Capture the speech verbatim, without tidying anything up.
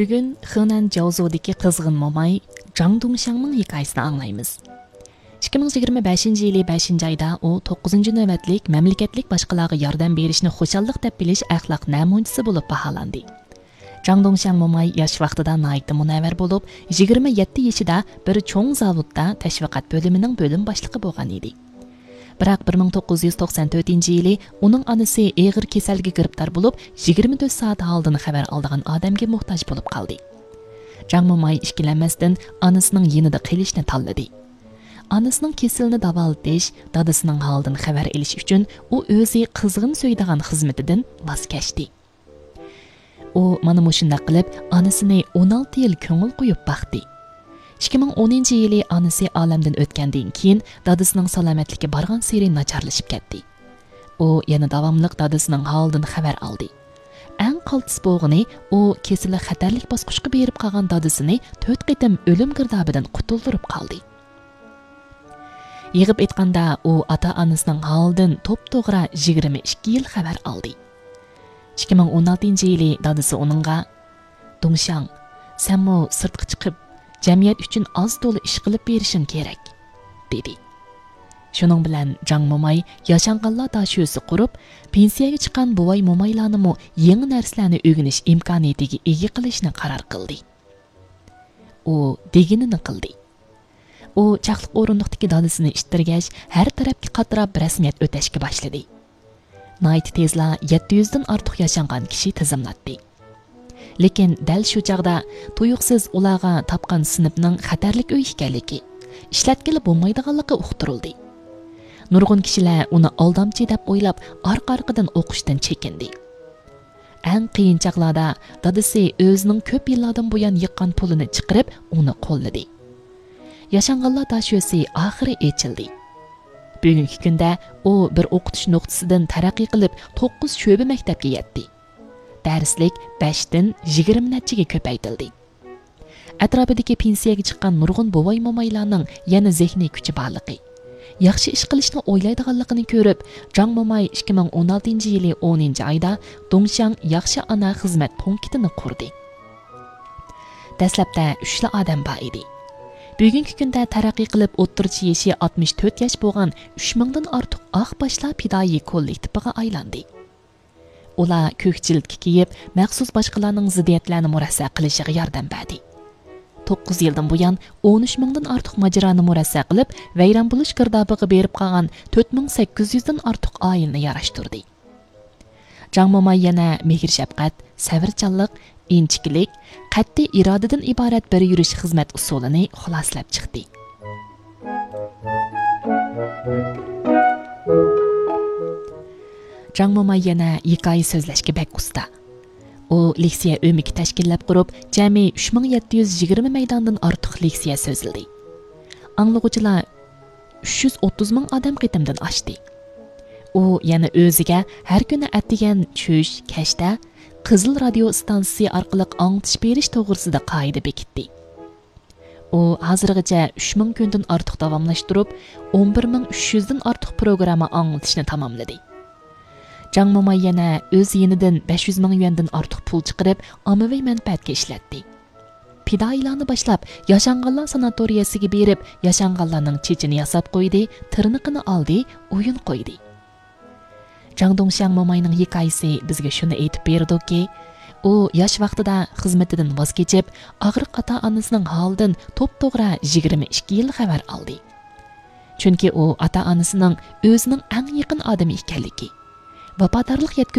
بۈگۈن خېنەن جاۋزۇدىكى قىزغىن موماي جاڭ دۇڭشياڭنىڭ ھېكايىسىنى ئاڭلايمىز. ئىككى مىڭ يىگىرمە بەشىنچى يىلى بەشىنچى ئايدا ئۇ توققۇزىنچى نۆۋەتلىك مەملىكەتلىك باشقىلارغا ياردەم بېرىشنى خۇشاللىق دەپ بىلىش ئەخلاق نەمۇنىچىسى بولۇپ باھالاندى. جاڭ دۇڭشياڭ موماي ياش ۋاقتىدا ناھايىتى مۇنەۋۋەر بولۇپ، يىگىرمە يەتتە يېشىدا بىر چوڭ زاۋۇتتا تەشۋىقات بۆلۈمىنىڭ بۆلۈم باشلىقى بولغان ئىدى. بىراق بىر مىڭ توققۇز يۈز توقسان تۆتىنچى يىلى ئۇنىڭ ئانىسى ئېغىر كېسەلگە گىرىپتار بولۇپ، يىگىرمە تۆت سائەت ھالىدىن خەۋەر ئالىدىغان ئادەمگە موھتاج بولۇپ قالدى. جاڭ موماي ئىككىلەنمەستىن ئانىسىنىڭ يېنىدا قېلىشنى تاللىدى. ئانىسىنىڭ كېسىلىنى داۋالىتىش، دادىسىنىڭ ھالىدىن خەۋەر ئېلىش ئۈچۈن ئۇ ئۆزى قىزغىن سۆيىدىغان خىزمىتىدىن ۋاز كەچتى. ئۇ مانا مۇشۇنداق قىلىپ ئانىسىنى ئون ئالتە يىل كۆڭۈل قويۇپ باقتى. ئىككى مىڭ ئونىنچى يىلى ئانىسى ئالەمدىن ئۆتكەندىن كېيىن، دادىسىنىڭ سالامەتلىكى بارغانسېرى ناچارلىشىپ كەتتى. ئۇ يەنە داۋاملىق دادىسىنىڭ ھالىدىن خەۋەر ئالدى. ئەڭ قالتىس بولغىنى، ئۇ كېسىلى خەتەرلىك باسقۇچقا بېرىپ قالغان دادىسىنى تۆت قېتىم ئۆلۈم گىردابىدىن قۇتۇلدۇرۇپ قالدى. يىغىپ ئېيتقاندا، ئۇ ئاتا-ئانىسىنىڭ ھالىدىن توپتوغرا يىگىرمە ئىككى يىل خەۋەر ئالدى. ئىككى مىڭ ئون ئالتىنچى يىلى دادىسى ئۇنىڭغا، «دۇڭشياڭ، سەنمۇ سىرتقا چىقىپ، جەمئىيەت ئۈچۈن ئاز-تولا ئىش قىلىپ بېرىشىڭ كېرەك» دېدى. شۇنىڭ بىلەن جاڭ موماي ياشانغانلار داشۆسى قۇرۇپ، پېنسىيەگە چىققان بوۋاي-مومايلارنىمۇ يېڭى نەرسىلەرنى ئۆگىنىش ئىمكانىيىتىگە ئىگە قىلىشنى قارار قىلدى. ئۇ دېگىنىنى قىلدى. ئۇ چاقلىق ئورۇندۇقتىكى دادىسىنى ئىتتىرگەچ، ھەر تەرەپكە قاتراپ رەسمىيەت ئۆتەشكە باشلىدى. ناھايىتى تېزلا يەتتە يۈزدىن ئارتۇق ياشانغان كىشى تىزىملاتتى. لېكىن دەل شۇ چاغدا تۇيۇقسىز ئۇلارغا تاپقان سىنىپنىڭ خەتەرلىك ئۆي ئىكەنلىكى، ئىشلەتكىلى بولمايدىغانلىقى ئۇقتۇرۇلدى. نۇرغۇن كىشىلەر ئۇنى ئالدامچى دەپ ئويلاپ، ئارقا-ئارقىدىن ئوقۇشتىن چېكىندى. ئەڭ قىيىن چاغلاردا دادىسى ئۆزىنىڭ كۆپ يىللاردىن بۇيان يىغقان پۇلىنى چىقىرىپ، ئۇنى قوللىدى. ياشانغانلار داشۆسى ئاخىرى ئېچىلدى. بۈگۈنكى كۈندە ئۇ بىر ئوقۇتۇش نۇقتىسىدىن تەرەققىي قىلىپ، توققۇز شۆبە مەكتەپكە يەتتى. دەرسلىك بەشتىن يىگىرمە نەچچىگە كۆپەيتىلدى. ئەتراپىدىكى پېنسىيەگە چىققان نۇرغۇن بوۋاي-مومايلارنىڭ يەنە زېھنىي كۈچى بارلىقى، ياخشى ئىش قىلىشنى ئويلايدىغانلىقىنى كۆرۈپ، جاڭ موماي ئىككى مىڭ ئون ئالتىنچى يىلى ئونىنچى ئايدا دۇڭشياڭ ياخشى ئانا خىزمەت پونكىتىنى قۇردى. دەسلەپتە ئۈچلا ئادەم بار ئىدى. بۈگۈنكى كۈندە تەرەققىي قىلىپ، ئوتتۇرىچە يېشى ئاتمىش تۆت ياش بولغان ئۈچ مىڭدىن ئارتۇق ئاق باشلار پىدائىي كوللېكتىپىغا ئايلاندى. ئۇلار كۆك جىلىتكە كىيىپ، مەخسۇس باشقىلارنىڭ زىددىيەتلەرنى مۇرەسسە قىلىشىغا ياردەم بەردى. توققۇز يىلدىن بۇيان ئون ئۈچ مىڭدىن ئارتۇق ماجىرانى مۇرەسسە قىلىپ، ۋەيران بولۇش گىردابىغا بېرىپ قالغان تۆت مىڭ سەككىز يۈزدىن ئارتۇق ئائىلىنى ياراشتۇردى. جاڭ موماي يەنە مېھىر-شەپقەت، سەۋرچانلىق، ئىنچىكىلىك، قەتئىي ئىرادىدىن ئىبارەت بىر يۈرۈش خىزمەت ئۇسۇلىنى خۇلاسىلەپ چىقتى. جاڭ موماي يەنە ھېكايە سۆزلەشكە بەك ئۇستا. ئۇ لېكسىيە ئۆمىكى تەشكىللەپ قۇرۇپ، جەمئىي ئۈچ مىڭ يەتتە يۈز يىگىرمە مەيداندىن ئارتۇق لېكسىيە سۆزلىدى. ئاڭلىغۇچىلار ئۈچ يۈز ئوتتۇز مىڭ ئادەم قېتىمدىن ئاشتى. ئۇ يەنە ئۆزىگە ھەر كۈنى ئەتىگەن چۈش، كەچتە قىزىل رادىيو ئىستانسىسى ئارقىلىق ئاڭلىتىش بېرىش توغرىسىدا قائىدە بېكىتتى. ئۇ ھازىرغىچە ئۈچ مىڭ كۈندىن ئارتۇق داۋاملاشتۇرۇپ، ئون بىر مىڭ ئۈچ يۈزدىن ئارتۇق پروگرامما ئاڭلىتىشنى تاماملىدى. جاڭ موماي يەنە ئۆز يېنىدىن بەش يۈز مىڭ يۈەندىن ئارتۇق پۇل چىقىرىپ، ئاممىۋى مەنپەئەتكە ئىشلەتتى. پىدائىيلارنى باشلاپ، ياشانغانلار ساناتورىيەسىگە بېرىپ، ياشانغانلارنىڭ چېچىنى ياساپ قويدى، تىرنىقىنى ئالدى، ئويۇن قويدى. جاڭ دۇڭشياڭ موماينىڭ ھېكايىسى بىزگە شۇنى ئېيتىپ بېرىدۇكى، ئۇ ياش ۋاقتىدا خىزمىتىدىن ۋاز كېچىپ، ئاغرىق ئاتا-ئانىسىنىڭ ھالىدىن توپتوغرا يىگىرمە ئىككى يىل خەۋەر ئالدى. چۈنكى ئۇ ئاتا-ئانىسىنىڭ ئۆزىنىڭ ئەڭ يېقىن ئادىمى ئىكەنلىكى، ۋاپادارلىق يەتكۈزۈپ